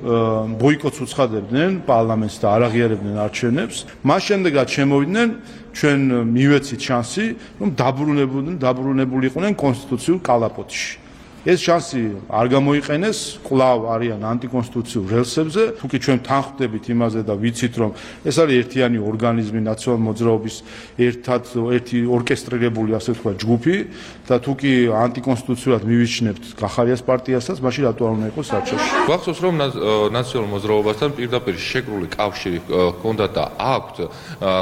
ბოიკოტს უცხადებდნენ პარლამენტს და არ აღიარებდნენ არჩევნებს. მას შემდეგაც შემოვიდნენ ჩვენ მივეცით შანსი, რომ დაბრუნებულიყვნენ კონსტიტუციურ კალაპოტში. ეს შანსი არ გამოიყენეს, კვლავ არიან ანტიკონსტიტუციურ რელსებზე, თუკი ჩვენ თანხმდებით იმაზე და ვიცით, რომ ეს არის ერთიანი ორგანიზმი, ნაციონალური მოძრაობის ერთი ორკესტრირებული, ასე ვთქვათ, ჯგუფი და თუკი ანტიკონსტიტუციურად მივიჩნევთ გახარიას პარტიასაც, მაშინ რატო არ უნდა იყოს საჩოში. გვახსოვს, რომ ნაციონალურ მოძრაობასთან პირდაპირ შეკრული კავშირი ჰქონდათ და აქვთ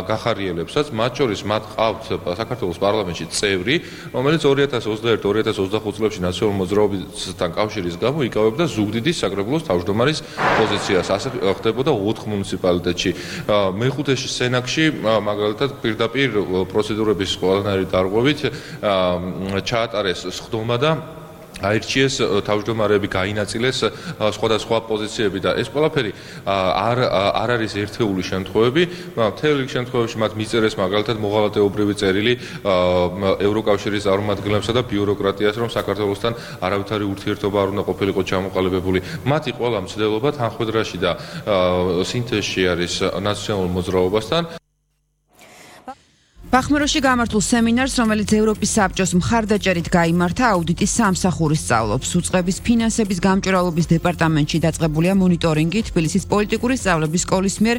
გახარიელებსაც, მათ შორის მათ ყავთ საქართველოს პარლამენტში წევრი, რომელიც 2021-2025 წლებში ნაციონალურ მოძრაობასთან კავშირის გამო იკავებდა ზუგდიდის საკრებულოს თავმჯდომარის პოზიციას. ასე ხდებოდა 4 მუნიციპალიტეტში. მეხუთეში სენაკში მაგალითად პირდაპირ პროცედურების ყველანაირი დარღვევით ჩაატარეს სხდომა და აირჩიეს თავმჯდომარეები, გაინაწილეს სხვადასხვა პოზიციები და ეს ყველაფერი არ არის ერთეული შემთხვევები. მთელ რიგ შემთხვევებში მათ მიწერეს მაგალითად მოღალატეობრივი წერილი ევროკავშირის წარმომადგენლებსა და ბიუროკრატიას, რომ საქართველოსთან არავითარი ურთიერთობა არ უნდა ყოფილიყო ჩამოყალიბებული. მათი ყველა მცდელობა თანხმედრაში და სინთეზში არის ნაციონალურ მოძრაობასთან. ბახმაროში გამართულ სემინარს, რომელიც ევროპის საბჭოს მხარდაჭერით გაიმართა, აუდიტის სამსახური სწავლობს. უწყების ფინანსების გამჭვირვალობის დეპარტამენტში დაწყებულია მონიტორინგი თბილისის პოლიტიკური სწავლების სკოლის მიერ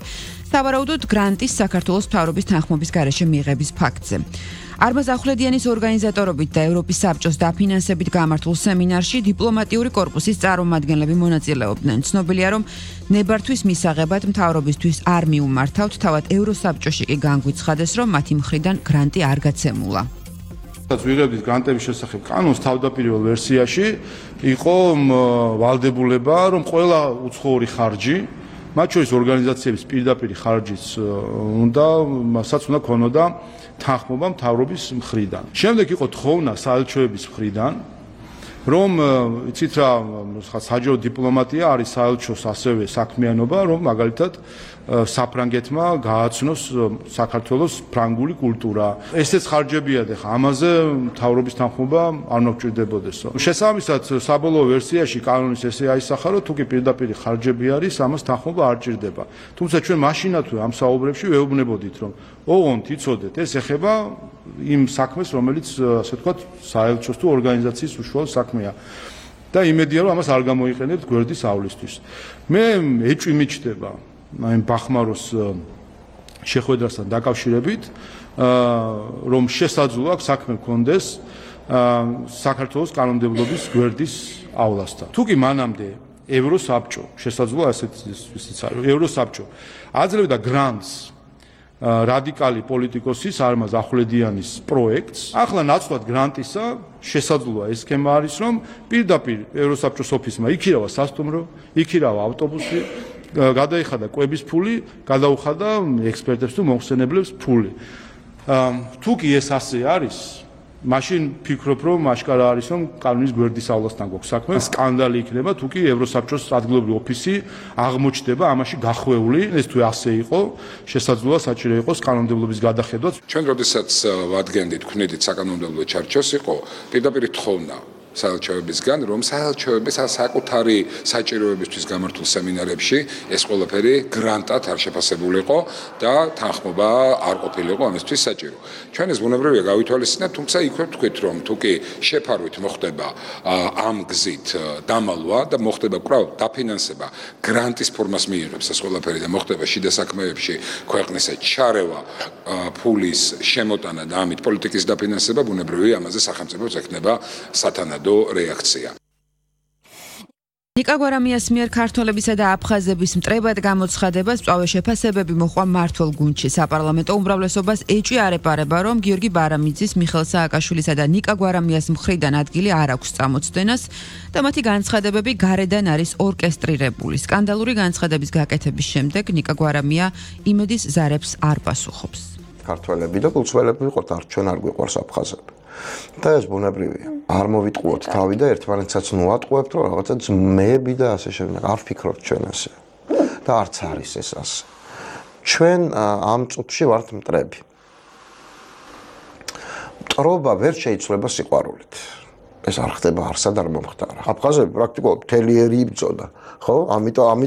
სავარაუდოდ გრანტის საქართველოს მთავრობის თანხმობის გარეშე მიღების ფაქტზე. არმაზ ახვლედიანის ორგანიზატორობით და ევროპის საბჭოს დაფინანსებით გამართულ სემინარში დიპლომატიური კორპუსის წარმომადგენლები მონაწილეობდნენ. ცნობილია, რომ ნებართვის მისაღებად მთავრობისთვის არ მიუმართავთ, თავად ევროსაბჭოში კი განგვიცხადეს, რომ მათი მხრიდან გრანტი არ გაცემულა. ვიღებდით გრანტების შესახებ კანონს თავდაპირველ ვერსიაში იყო ვალდებულება, რომ ყველა უცხოური ხარჯი, მათ შორის ორგანიზაციების პირდაპირი ხარჯიც უნდა ქონოდა თანხმობა მთავრობის მხრიდან. შემდეგ იყო თხოვნა საელჩოების მხრიდან, რომ იცით რა, საჯარო დიპლომატია არის საელჩოს ასევე საქმიანობა, რომ მაგალითად საფრანგეთმა გააცნოს საქართველოს ფრანგული კულტურა. ესეც ხარჯებია და ამაზე მთავრობის თანხმობა არ მოგჭირდებოდესო. შესაბამისად, საბოლოო ვერსიაში კანონის ესე აისახა, რომ თუკი პირდაპირი ხარჯები არის, ამას თანხმობა არ ჭირდება. თუმცა ჩვენ მაშინათვე ამ საუბრებში ვეუბნებოდით, რომ ოღონდ იცოდეთ, ეს ეხება იმ საქმეს, რომელიც ასე ვთქვათ, საელჩოს თუ ორგანიზაციის უშუალო საქმეა. და იმედია, რომ ამას არ გამოიყენებთ გვერდისავლისთვის. მე ეჭვი მიჩნდება აი ბახმაროს შეხვედრასთან დაკავშირებით, რომ შესაძლოა საქმე მქონდეს საქართველოს კანონმდებლობის გვერდისავლასთან. თუკი მანამდე ევროსაბჭო, შესაძლოა ესეც არის, ევროსაბჭო აძლევდა გრანტს რადიკალი პოლიტიკოსის არმაზ ახვლედიანის პროექტს, ახლა ნაცვლად გრანტისა შესაძლოა ეს სქემა არის, რომ პირდაპირ ევროსაბჭოს ოფისმა იქირავა სასტუმრო, იქირავა ავტობუსი, გადაიხადა კვების ფული, გადაუხადა ექსპერტებს თუ მომხსენებლებს ფული. თუკი ეს ასე არის, მაშინ ფიქრობ, რომ აშკარა არის, რომ კანონის გვერდისავლასთან გვაქვს საქმე. სკანდალი იქნება, თუკი ევროსაბჭოს ადგილობრივი ოფისი აღმოჩნდება ამაში გახვეული. ეს თუ ასე იყო, შესაძლოა საჭირო იყოს კანონმდებლობის გადახედვაც. ჩვენ როდესაც ვადგენდით, ვქნედით საკანონმდებლო ჩარჩოს, იყო პირდაპირ თხოვნა საელჩოებისგან, რომ საელჩოების საკუთარი საჭიროებისთვის გამართულ სემინარებში ეს ყველაფერი გრანტად არ შეფასებულიყო და თანხმობა არ ყოფილიყო ამისთვის საჭირო. ჩვენ ეს ბუნებრივია გავითვალისწინეთ, თუმცა იქვე ვთქვით, რომ თუკი შეფარვით მოხდება ამ გზით დამალვა და მოხდება კვლავ დაფინანსება, გრანტის ფორმას მიიღებს ეს ყველაფერი და მოხდება შიდა საქმეებში ქვეყნისა ჩარევა, ფულის შემოტანა და ამით პოლიტიკის დაფინანსება, ბუნებრივია ამაზე სახელმწიფოს ექნება სათანადო რეაქცია. ნიკა გვარამიას მიერ ქართველებისა და აფხაზების მტრებად გამოცხადებას მწვავე შეფასებები მოჰყვა მმართველ გუნდში. საპარლამენტო უმრავლესობას ეჭვი არ ეპარება, რომ გიორგი ბარამიძის, მიხეილ სააკაშვილისა და ნიკა გვარამიას მხრიდან ადგილი არ აქვს წამოწდენას და მათი განცხადებები გარედან არის ორკესტრირებული. სკანდალური განცხადების გაკეთების შემდეგ ნიკა გვარამია იმედის ზარებს არ პასუხობს. ქართველები და გულწრფელები ვიყოთ, ჩვენ არ გვიყვარს აფხაზები. და ეს ბუნებრივია. არ მოვიტყუოთ თავი და ერთმანეთსაც ნუატყუებთ, რომ რაღაცა ძმები და ასე შემდეგ. არ ვფიქრობთ ჩვენ ასე. და არც არის ეს ასე. ჩვენ ამ წუთში ვართ მტრები. მტრობა ვერ შეიცვლება სიყვარულით. ეს არ ხდება, არსად არ მომხდარა. აფხაზები პრაქტიკულად მთელი ერი იბრძოდა, ხო? ამიტომ